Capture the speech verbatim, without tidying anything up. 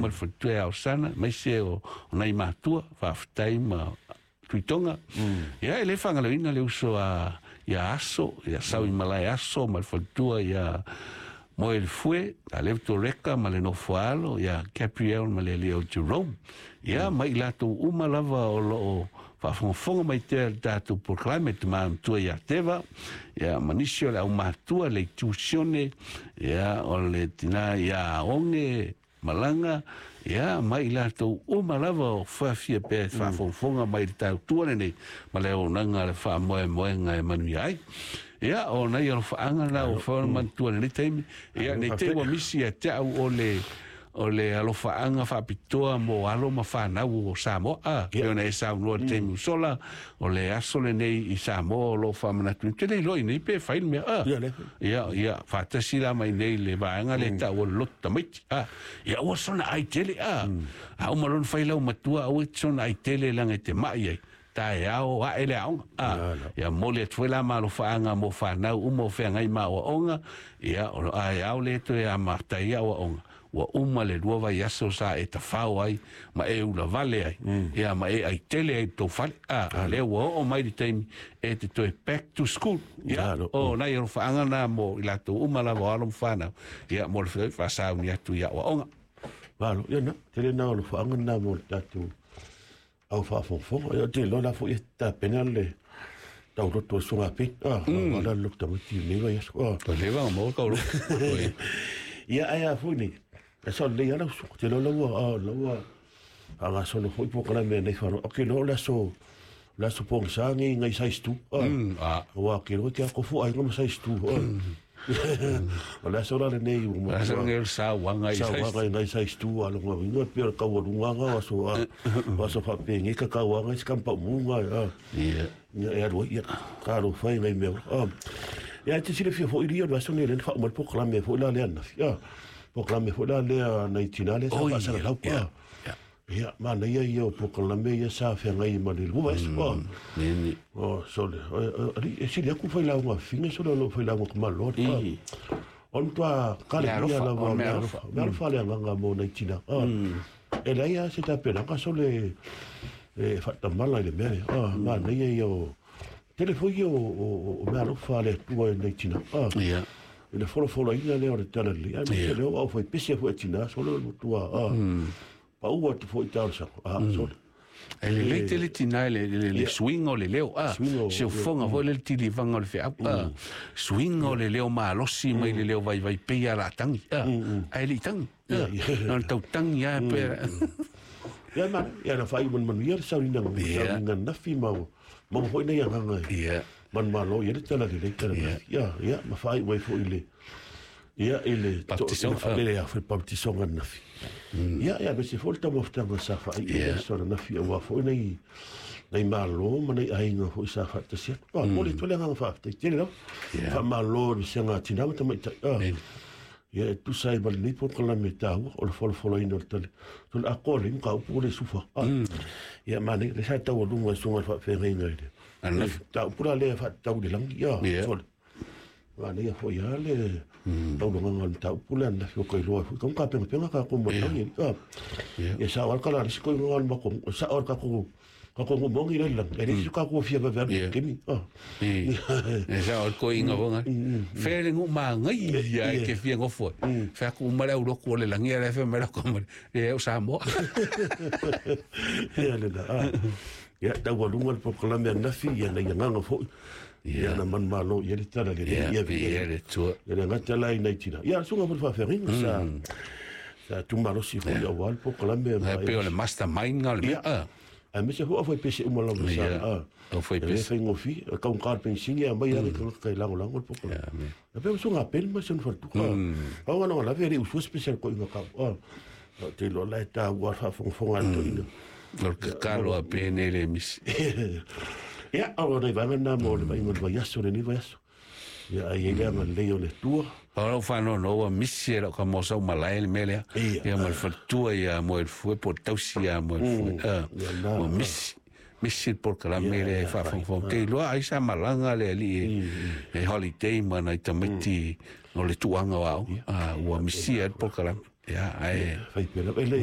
ma le faletua ia Osana, aemaise o o nai matua, faafetai ma Tuitonga. Ia e le faagaloina le uso a ia Aso, ia Sau i Malae Aso ma le faletua ia Moe le Fue, a le Toreka ma le nofoalo ia Gabriel ma le Leo Jerome. Ia ma i latou uma lava o loo faafogafoga mai tea le tatou polokalame tama matua ia Teva, ia ma nisi o le aumatua le Itusione, ia o le tina ia Oge Malaga, ia ma i latou uma lava o faafia pea faafogafoga mai le tautua lenei ma le auaunaga le faamoemoega e manuia ai. Ia o nai alofaaga na ua fauna manatua i lenei taimi. Ia nei te ua misi ia te au o le o le alofaaga faapitoa mo alo ma fanau o Samoa. A, pei ona e saunoa i le taimi ua sola, o le aso lenei i Samoa o lo o faamanatu. Te le iloa i nei pe fai le mea. A, Ia, le. Ia, ia, faatasi la mai nei le vaega le tau o le loto tamaiti. A, ia ua sona ai tele. A, a uma lona fai lau matua, aua e te sona ai tele laga e te mai ai. Taeao ae le aoga. A, ia moli atu foi la ma alofaaga mo fanau uma o feagai ma aoaoga. Ia, o aeao le toe amatai aoaoga. Ua uma le lua vaiaso sa e tafao ai ma e ulavale ai. Ia ma e ai tele ai tou fale. A, lea ua oo mai le taimi e te toe back to school. Ia, Alo. o nai alofaaga na mo i latou uma lava o alo ma fanau. Ia, mo le faasauni atu i aoaoga. Malo, ia na, tele na o le faanga na mo le tatou au faafogafoga. Ia te loa la foi e tapena le tauloto o suga pe. Ah, wala lo tamaiti nei vai aso. Ah. O le vanga mo kau lo. Ia ai a foi nei. E so le ala su te loa ua ah laua a ga solo foi po kala me nei faro. Okay lo la so la so pong sa ngi ngai size two. Ah. Mm, a, Wa ke lo te ko fu ai ngam size two. Ah. O la so la le nei mo. Asa ngel sa wanga i Sa sa. wa ngai ngai size two a lo ngai pe ka wa lunga nga wa so a wa so fa pe ngi ka ka wa ngai skam pa mu nga a. Ia. Ia e aru ia ka ro fai ngai me. Ah. Ia te sile fia fo i rio la so nei le fa mo po klame fo la le na. Ia. Po klame fo la le na i tina le sa Oh, fa sa ia, lau. ia, ia. Ia ma na ia ia po klame ia sa fe ngai ma le lu es. Oh. Nini. Oh sole. Ali e sile ku fai la nga finga sole lo fai la nga ma lo. I. On toa ka le Mea alofa, ia la o wa mea mea alofa. alofa. Mea alofa le nganga mo nei tina. Ah. E la ia se ta pena ka sole e fatamala i le mea. Ah, ma nei ia o telefoni o o o mea alofa le tua i nei tina. Ah. Ia. I le folofolo ina lea o le tala li. Ai Ia. me leo au fai pese fo e tina sole o tua. Ah. Pa ua tu fo i tau sa. Ah, sole. E le lei tele tina le le le Ia. swing o le leo a Swing o- se o fonga foi le tilivaga o le feau a swing o le leo malosi mai le leo vaivai pei a la tangi a ae le'i tagi Ia, ia. na le tautagi a pe Ia ma ia na fai man man ia sa ni nang Ia. sa ni nang nafi ma ma mo nei nganga. Ia. Man ma lo ia le tala le tala. Ia. Ia ia ma fai wai fo ile. Ia ile Baptison, to- le ia fo baptison ngan nafi. Ia ia be se fo ta mo ftanga sa fa Ia. ia so na nafi wa fo nei nei ma lo ma nei ainga fo sa fa ta sia. Pa mo le tole nganga fa te tele lo. Ia. Fa ma lo ni se nga tina ma ta mai ta. Ah. Nini. Ia e tusa ai ma lenei polokalame tāua o le folofoloina o le tale. So le akoa le ka upu o le sufa. Ah. Ia mane le sa tau lunga i suga le faafeagaiga i le. Ananafi. Ta upu la lea faatatau i le lagi. Ia, Ia. sole. Mane ia foi a le taulagaga o le mataupu lea ananafi o kailoa ai foi. Kamu ka pengapenga ka ko mo le lagi. Ah. Ia. Ia sa o ka la le siko i le mako. Sa o ka ko ka ko mongi le lagi. E le siko ka ko fia vave Ia. kemi. Ah. I e sa o ko inga vonga fe le ngu ma ngai ia Ia. ke fia ngofo fe ku ma le uroko o le langi le fe me la ko ma le o sa mo Ia le la. Ah. Ia taualuga le polokalame ananafi ia na ia agaga foi. Ia na manumalo ia le tala lelei ia ia ia le tua ia le gata la i nai tina. Ia suga foi le faafeagaiga sa sa tumalosi foi auā le polokalame e pe o le mastermind nga le mea a Ae mese foi afai pese uma lava sa Ia. a. Au fai E le pese. faigofie kaugā le penisini a mai ale tagata kai lagolago le polokalame. Ia, me. E pe usuga pele ma se ona faletuka. Au ga lave e le usua special ko inga kau. Ah. Te iloa la e tāua le faafogafoga a le toeaina. O le kakalo a pene le misi. Ia, o nai vaega na mo le vaaiga o le vaiaso lenei vaiaso. Ia, ai ai le agalelei o le Atua. O lau faanoano ua misi e lau ka mosau malae le mea lea. Ia. Ia ma le faletua ia mo e le fue po o le tausi ia mo e le fue. Ah, Ia, na. Ua misi. Misi le polokalame Ia, lea e ia, faafogafoga. Te iloa ai sa malaga le alii e e holiday ma nai tamaiti o le tuaga o aoga. Ah, ua misia ai le polokalame. Ia, ae Fai pea lava. E le